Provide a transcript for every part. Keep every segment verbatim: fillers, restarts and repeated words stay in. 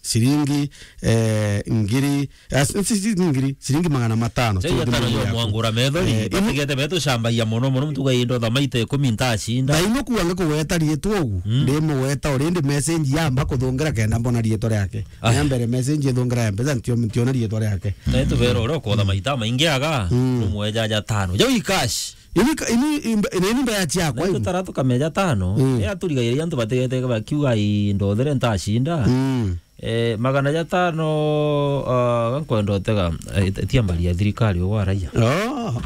ciringi, eh, ngiri, eh, si, si, si ngiri, ciringi magana matano. Chai atano yo mwangura methori, eh, batigete betu shambagia mono mono, mtuga indo tha maita ikumi ntashinda. Thaino kuange kugweta rietwa ugu, mm, ndimugweta already message yamba kuthungira kenda mbona rietwa riake. Ah. Ya mbere message ithungira ya mpesa, ntio-, ntiona rietwa riake. Thaino tubera uria ukotha maita maingi aga, mm, umwe ja ja tano. Jau i cash. Ini ka-, ini imbe-, ini, ini mbeca ciakwa. Na itutara tukameja tano. Mm. Ni aturigairia antu batigete bakiuga, "Ii, ndothere ntashinda." Mm. Eh, magana ja tano, ah, gankwenda utega, eh, tia mbari ya thirikari ugwa raia. Oh.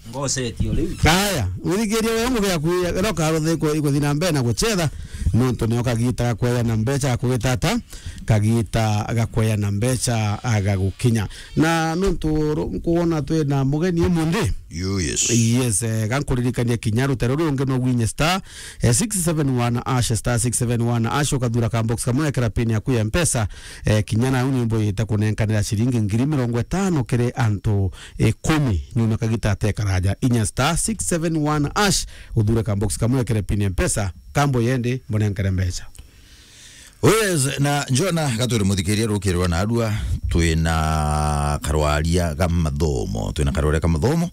Ngosetio riu. Aya, withikirie we ngugi yaku ya, ira ukaruthe iko-, ikuthi na mbere na gucetha, nontu nio kagita gakweya na mbeca gakugitata, kagita gakweya na mbeca agagukinya. Na nontu ru-, nkuona twi na mugeni umunthi. Yo, yes. Yes, eh, gankuririkania kinya rutere ruri rungi no gwinye star, eh, six seven one hash, star six seven one hash, ukathura ka box kamwe, ekera pin yaku ya mpesa, eh, kinya nau ni mbuyite kunenkanira ciringi ngiri mirongo itano kiri antu ikumi. Nyuma kagita atekaraja, inya star six seven one hash, uthure ka box kamwe, ekere pin ya mpesa, kambo yendi, mbunenkere mbeca. Oh yes, na Jona, gatwire muthikiria rukirwa na arua, twina karwaria ga mathomo, twina karwaria ga mathomo,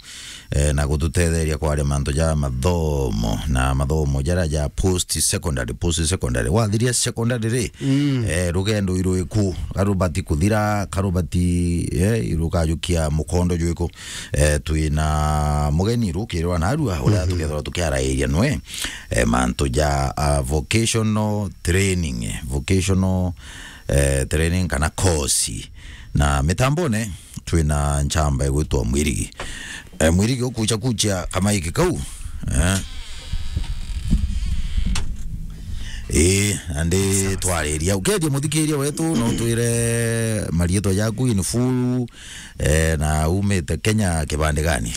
eh, na gututetheria kwaria mantu ja mathomo, na mathomo jara ja post secondary, post secondary. Wathiria secondary ri, mm, eh, rugendo irwiku, karubati kuthira, karubati, eh, irukajukia mukondo jwiku. Eh, twina mugeni rukirwa na arua, uria, mhm, tukethirwa tukiarairia nwe, eh, mantu ja, ah, vocational training, vocational, eh, training kana course. Na mitambone, twina nchamba igwitwa Mwirigi. Eh, Mwirigi, ukucha kucha kamaiki kau. Eh. Eh, andi twariria. Ukeethia muthikiria wetu, no twire marietwa jaku in full, eh, na umite Kenya kibandi gani?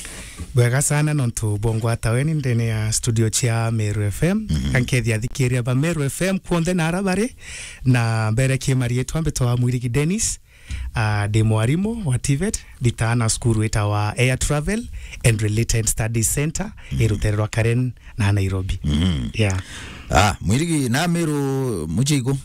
Bwega sana, nontu bongwata weni ndene ya studio cia Meru F M. Mhm. Kankethia athikiria ba Meru F M kuonthe na ara bari, na mberekie marietwa, mbitwa Mwirigi Dennis. Ah, ndi mwarimu wa TVET, nditaga na cukuru witawa Air Travel and Related Studies Center, mhm, i rutere rwa Karen na Nairobi. Mhm. Yeah. Ah, Mwirigi, na Meru muchiko?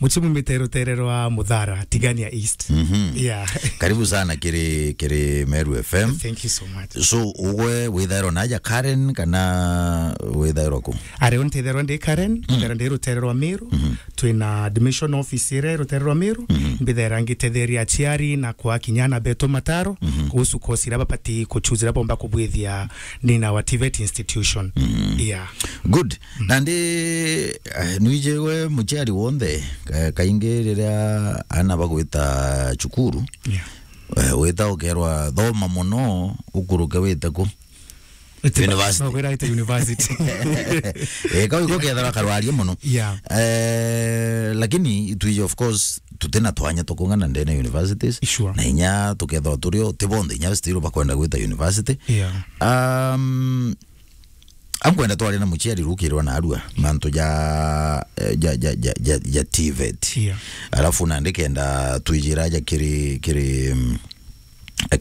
Muchimu mite rutere rwa Muthara, Tigania East. Mhm. Yeah. Karibu sana kiri, kiri Meru F M. Thank you so much. So, ugwe withairwa naja Karen kana withairwa ku? Ari, ntithairwa ndi Karen, mm, ntithairwa ndi rutere rwa Meru. Mhm. Twina admission office ira rutere rwa Meru. Mhm. Mbithaira ngitetheria aciari na kwa kinya ana betu mataro, mhm, kuhusu course ira babati kuchuzira bomba kubwithia nina wa TVET institution. Mhm. Yeah. Good. Mhm. Nandi, eh, nwije we muciari wonthe, ka-, kaingi riria ana bagwita cukuru, yeah, eh, wita ukerwa thoma muno, ukuruke wite ku? University. No, kwira ite university. Eh, kau iko kethira karwaria muno. Yeah. Eh, lakini itwije, of course, tutina twanya tukung'ana ndene universities. Sure. Na inya tukethwa turio, ti bonthe inya still bakwenda gwita university. Yeah. Um, ankwenda twaria na muciari rukirwa na arua, mantu ja, eh, ja, ja, ja, ja, ja TVET. Yeah. Alafu nandi kenda twijira ja kiri, kiri, mm,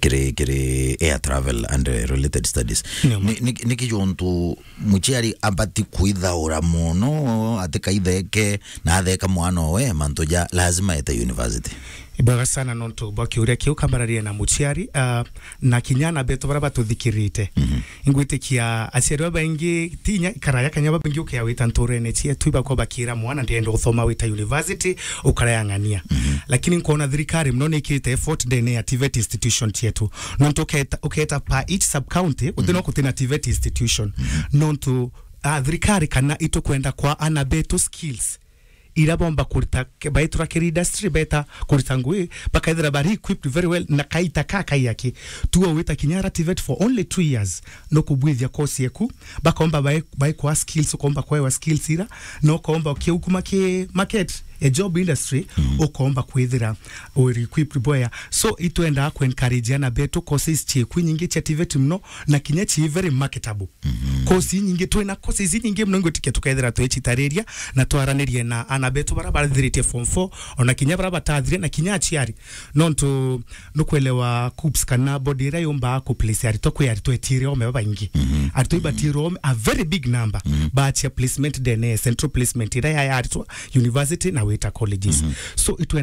kiri, kiri air travel and, eh, related studies. Ni, ni, ni kijuntu muciari abati kwithaura muno, atikaitheke na atheka mwana owe, mantu ja lazima ete university. Ibwega sana nontu bwa kiuria kiu, kambararia na muciari, ah, na kinya ana betu bara batuthikirite. Mhm. Ingwitikia aciari babaingi, ti inya karaya kanya babaingi ukia wita nturene cietu, ibakwa bakira mwana, "Ndienda uthoma wita university, ukara ya ng'ania." Mhm. Lakini nkona thirikari muno ni ikirite effort ndene ya TVET institution cietu. Nontu uketa, uketa per each sub county, utina, mhm, kutina TVET institution. Mhm. Nontu, ah, thirikari kana itukwenda kwa ana betu skills ira bomba kurita, ke-, baitwa kiri industry, beta kurita ngui, bakaithira bari equipped very well, na kaita ka kaiyaki. Tuo wita kinya ara TVET for only two years, no kubwithia course yeku, bakomba bai-, baikwa skills, ukomba kwewa skills ira, no komba ukiukuma ki market, a job industry, mm, ukomba kwithira uri equipped bwea. So, itwenda ku encourage ana betu courses cieku nyingi cia TVET muno, na kinya ci very marketable. Mhm. Course inyingi, twina courses inyingi muno, ingwitikia tukethira twicitariria na twaranirie na ana betu bara bathiritie form four, ona kinya bara batathire, na kinya aciari. Nontu nukwelewa KUCCPS kana body ira yumba ku place aritwa, kwi aritwa etiire ome babaingi. Mhm. Aritwa ibatire ome, a very big number, mhm, bachia placement ndene, central placement ira ya, ya aritwa university na wita colleges. Mhm. So, itwe